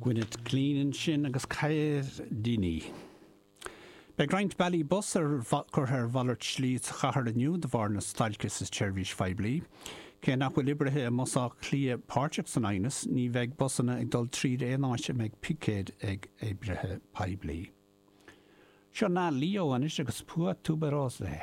Gwyneth Clean ansin agus Cairdini. Beidh roinnt bealaí bus ar curtha ar mhalairt slí sa chathair inniu de bharr na stailce sa tseirbhís phoiblí. Cé nach bhfuil oibrithe i mBus Átha Cliath páirteach san aighneas, ní bheidh busanna ag dul tríd aon áit a mbeidh picéid ag oibrithe poiblí. Seo Na Leo anois agus Pua Tuberose.